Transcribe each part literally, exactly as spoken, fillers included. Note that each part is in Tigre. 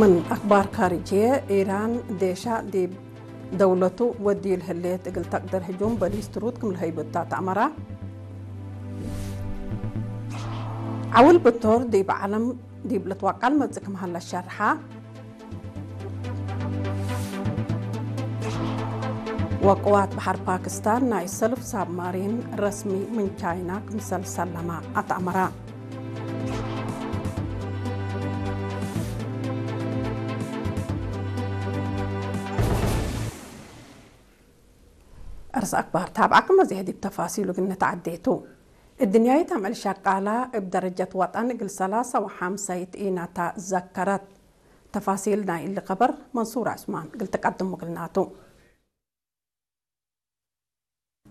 ምን አክባር ካርጅየ፣ ኢራን ዴሻ ዲብ ደውለቱ ወድዩ ለህሌት እግል ተቅድር ህጁም በሊስት ሩድ ክም ለሀይቡ እተ ተአመረ። ዐውል ብቶር ዲብ ዐለም ዲብ ልትወቀል መጽእ ክም ሀለ ሸርሐ። ወቅዋት በሐር ፓክስታን ናይ ሰልፍ ሳብማሪን ረስሚ ምን ቻይና ክምሰል ሰለመ አትአመረ። አርስ አክባር ታብዐክመ ዜሕ ዲብ ተፋሲሉ እግል ንትዐዴ ቱ። እድንያይት አምዕል ሸቃላ እብ ደረጀት ወጠን እግል ሰላሰ ወሐምሰይት ኢናታ ዘከረት። ተፋሲል ናይ እሊ ከበር መንሱር ዑስማን እግል ትቀድሙ እግልናቱ።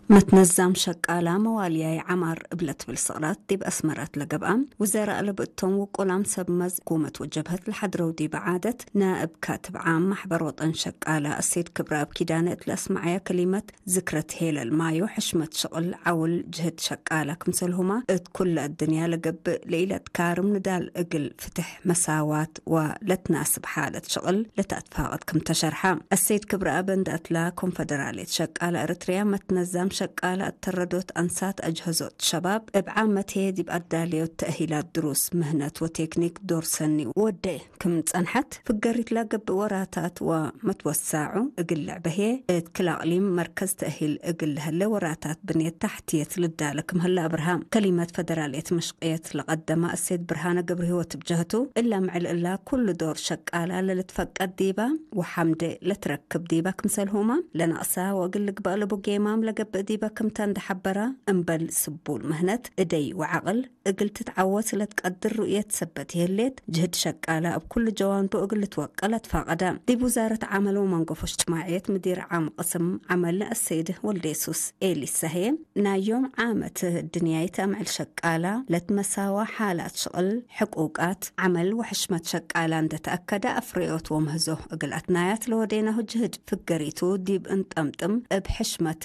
መትነዛም ሸቃላ መዋልያይ ዐማር እብ ለትብል ስቅላት ዲብ አስመራት ለገብአ ውዘራእ ለብእቶም ውቁላም ሰብ መዝ ሕኩመት ወጀብሀት ለሐድረው ዲበ ዓደት፣ ናእብ ካትብ ዓም ማሕበር ወጠን ሸቃላ አሰይድ ክብረአብ ኪዳነ እት ለአስመዐየ ከሊመት፣ ዝክረት ሄለል ማዩ ሕሽመት ሽቅል ዐውል ጅህድ ሸቃላ ክምሰልሁመ እት ኩለ አድንያ ለገብእ ለኢለትካርም ንዳል እግል ፍትሕ፣ መሳዋት ወለትናስብ ሓለት ሽቅል ለተአትፋቀድ ክም ተ ሸርሐ። አሰይድ ክብረአብ እንደ አትላ ኮንፈደራልየት ሸቃላ ኤረትርያ መትነዛም ሸቃላ እተረዶት አንሳት አጅሀዞት ሸባብ እብ ዓመት ህዬ ዲብ አዳለዮት ተእሂላት ድሩስ፣ ምህነት ወቴክኒክ ዶር ሰኒ ወዴ። ክም ጸንሐት፣ ፍገሪት ለገብእ ወራታት ወመትወሳዑ እግል ልዕበ ህዬ፣ እት ክል አቅሊም መርከዝ ተእሂል እግል ለህለ ወራታት ብንየት ታሕትየት ልዳለ ክም ሀለ አብርሃ። ከሊመት ፈደራልየት ምሽቅየት ለቀደመ አሰይድ ብርሃነ ገብረህይወት እብ ጀህቱ፣ እለ ምዕል እላ ኩሉ ዶር ሸቃላ ለልትፈቀድ ዲባ ወሐምዴ ለትረክብ ዲባ ክምሰልሁመ፣ ለነቅሳ ወእግል ልግበእ ለቡ ጌማም ለገብእ ዲባ ክምተ እንደ ሐበራ፣ እምበል ስቡል ምህነት፣ እደይ ወዐቅል፣ እግል ትትዐወት ለትቀድር ሩእየት ሰበት ይህሌት፣ ጅህድ ሸቃላ እብ ኩሉ ጀዋንቡ እግል ልትወቀል አትፋቀደ። ዲብ ውዛረት ዐመል ወመንገፎ እጅትማዕየት ምዲር ዓም ቅስም ዐመል አሰይድ ወልዴሱስ ኤሊሳ ህዬ፣ ናይ ዮም ዓመት እድንያይት አምዕል ሸቃላ ለትመሳዋ ሓላት ሽቅል፣ ሕቁቃት፣ ዐመል ወሕሽመት ሸቃላ እንደ ተአከደ አፍረዮት ወምህዞ እግል አትናያት ለወዴናሁ ጅህድ ፍገሪቱ ዲብ እንጠምጥም እብ ሕሽመት